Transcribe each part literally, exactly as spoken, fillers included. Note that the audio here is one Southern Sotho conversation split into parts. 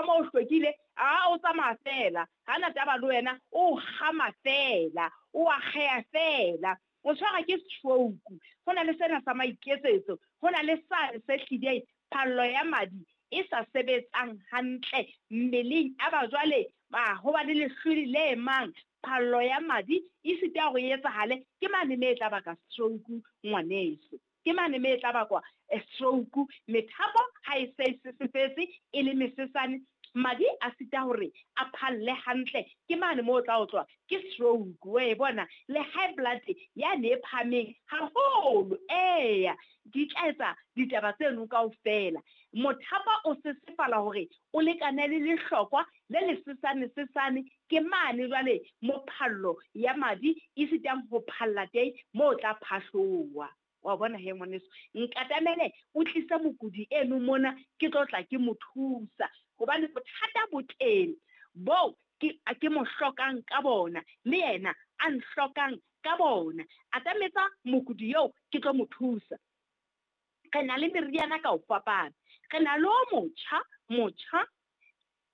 mo o hlwekile, a o tsamaya fela, ha na taba le wena, o kgama fela, o akgeha fela, o tshwara ke stroke. Ho na le sena sa maiketsetso, ho na le sane se hlileng phallo ya madi e sa sebetsang hantle mmeleng. A ba jwale ba ho ba le lehlwele le mang, phallo ya madi e sita hore e etsahale, ke mane me e tla baka stroke ngwaneso. Ke mane me e tla bakwa stroke. Methapo ha e se e sesefetse e le mesesane, madi a sita hore a phalle hantle, ke mane moo o tla utlwa ke stroke. Wa e bona le high blood yane e phahameng haholo, eya di tla etsa ditaba tseno kaofela. Mothapo o sesefala hore o lekane le lehlokwa le lesesane sesane, ke mane jwale mo phallo ya madi e sitang ho phalla teng, moo o tla phahloha. Wa bona he ngwaneso, nkatamele o tlise mokudi eno mona, ke tlo tla ke mo thusa, hobane bothata bo teng boo ke ke mo hlokang ka bona, le yena a nhlokang ka bona. Atametsa mokudi eo ke tlo mo thusa. Re na le meriana ka ho fapana, re na le o motjha, motjha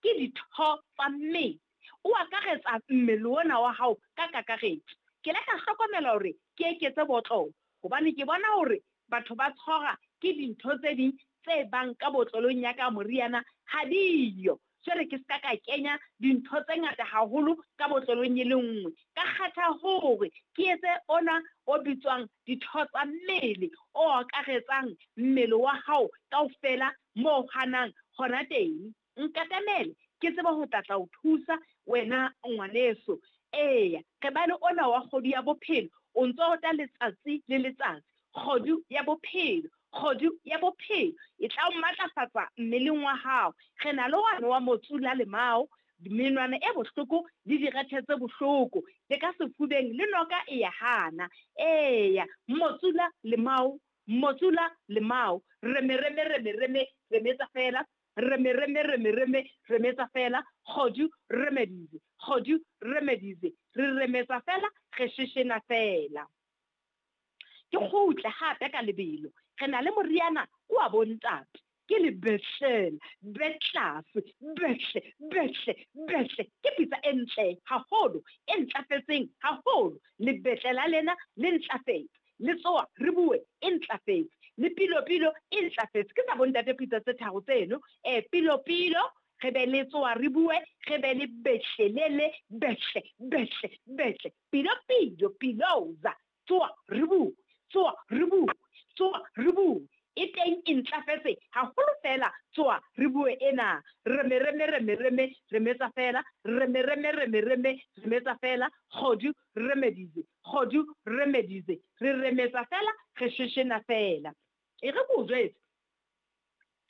ke ditho tsa mmele, o akaretsa mmele ona wa hao ka kakaretso. Ke ile ka hlokomela hore ke eketse botlolo, hobane ke bona hore batho ba tshwarwa ke dintho tse ding tse bang ka botlolong ya ka moriana ha diyo. Jwale ke ska ka kenya dintho tse ngata haholo ka botlolong e le nngwe. Ka kgetha hore ke etse ona o bitswang ditho tsa mmele, o akaretsang mmele wa hao kaofela moo hanang hona teng. Nkatamele ke tsebe ho tla tla o thusa wena ngwaneso. Eya, re ba le ona wa kgodu ya bophelo, o ntso ota letsatsi le letsatsi. Kgodu ya bophelo, kgodu ya bophelo e tla o matlafatsa mmeleng wa hao. Re na le wane wa motsula lemao, menwana e bohloko le direthe tse bohloko, le ka sefubeng le noka e ya hana. Eya, motsula lemao, motsula lemao, reme reme reme reme remetsa fela, reme reme reme reme remetsa fela, kgodu remedies, kgodu remedies, re remetsa fela, re sheshena fela. Ke kgutle hape ka lebelo, re na le moriana wa bontate, ke lebehlela, betlase, behle, behle, behle, ke pitsa e ntle haholo, e ntlafetseng haholo. Lebetlela lena le ntlafetse, le tsoa re bue e ntlafetse, le pilo-pilo e ntlafetse. Ke tsa bontate pitsa tse tharo tseno, eh pilo-pilo, re be le tsoa re bue, re be le behlelele, behle, behle, behle, pilo-pilo, piloza, tsoa re bue, tsoa re bue, tsoa re bue. E teng e ntlafetse haholo fela, tsoa re bue ena. Reme reme reme reme remetsa fela, reme reme reme reme remetsa fela, kgodu remedies, kgodu remedies, re remetsa fela, re sheshena fela. E re ko jwetse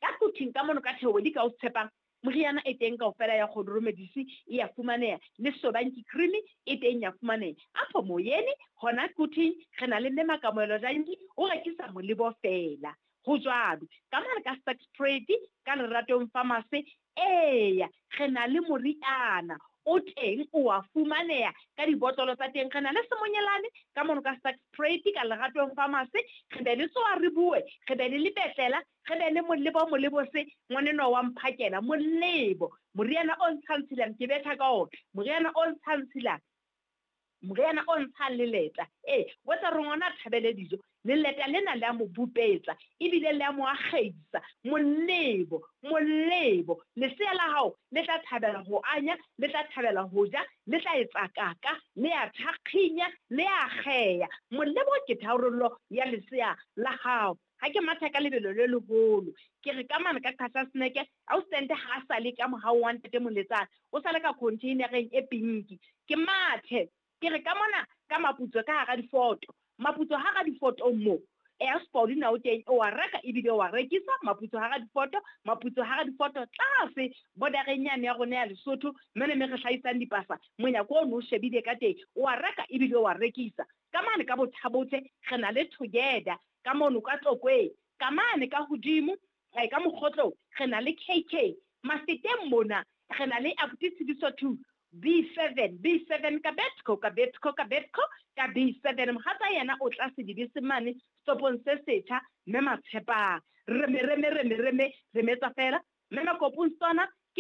ka kuthing ka mono ka theodi ka o tshepang, moriana e teng kaofela ya kgodu remedies e ya fumaneha, le sobanki cream e teng ya fumaneha. Apho moyeni hona kuthing re na le mme Makamohelo Janki, o rekisa molebo fela. Ho jwalo ka mane ka Sex Trade ka Leratong Pharmacy, eya re na le moriana o teng o a fumaneha ka dibotlolo tsa teng. Re na le semonyelane ka mono ka Sex Trade ka Leratong Pharmacy, re be le tsoa re bue, re be le lebetlela, re be le molebo, molebo se ngwanenwa wa mphakela, molebo moriana o ntshang tshilang, ke betha ka ona moriana o ntshang tshilang, moriana o ntshang leleta. Eh, wa tsa re ngwana a thabele dijo, leleta lena le a mo bupetsa ebile le a mo akgeisa. Molebo, molebo, lesea la hao le tla thabela ho anya, le tla thabela ho ja, le tla etsa kaka, le a thakginya, le a akgeya. Molebo ke tharollo ya lesea la hao. Ha ke matha ka lebelo le leholo, ke re ka mane ka Qhasha Snack, ausi ha a sale ka mohau wa ntate Moletsane, o sale ka containereng e pinki. Ke mathe, ke re ka mona ka maputso ka hara difoto, maputso hara difoto mo, e Paulina o teng, o a reka ebile o a rekisa. Maputso hara difoto, maputso hara difoto tlase bordereng yane ya rona ya Lesotho, mane me re hlahisang dipasa, monyako ono o shebile ka teng, o a reka ebile o a rekisa. Ka mane ka Bothabotle re na le Together, ka mono ka Tlokweng, ka mane ka hodimo, eh, ka Mokgotlong re na le K K. Mafeteng mona re na le Abuti Tshidiso two, B seven, B seven ka Betco, ka Betco, ka Betco, ka B seven. Mohatsa yena o tlase dibese mane stopong se setjha, mme Matshepang. Reme, reme, reme, reme, remetsa fela. Mme Makopong sona